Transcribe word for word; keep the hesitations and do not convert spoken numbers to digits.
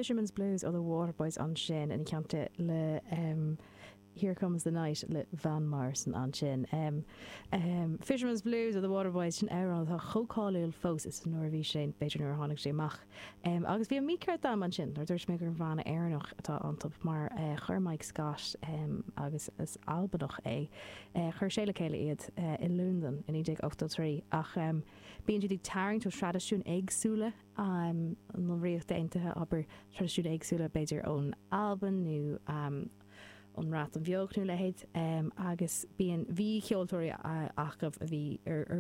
Fisherman's Blues ó the Waterboys ansin ina theannta le um, Here Comes the Night le Van Morrison ansin. Um, um, Fisherman's Blues ó the Waterboys sin amhrán atá chomh cáiliúil fós is nuair a bhí sé b'fhéidir nuair a tháinig sé amach. Um, agus bhí an mícheart agam ansin nuair dúirt mé gur banna Éireannach atá iontu mar uh, chuir Mike Scott um, agus is Albanach é. Uh, chuir sé le chéile iad uh, i Londain in naoi ochtó trí ach um, bíonn siad ag tarraingt ó traidisiúin éagsúla um, na Ríochta Aontaithe abair traidisiúin éagsúla b'fhéidir ón Albain nó um, an Bhreatain Bheag nó leithéid um, agus bíonn bhí ceoltóirí acu a bhí ar, ar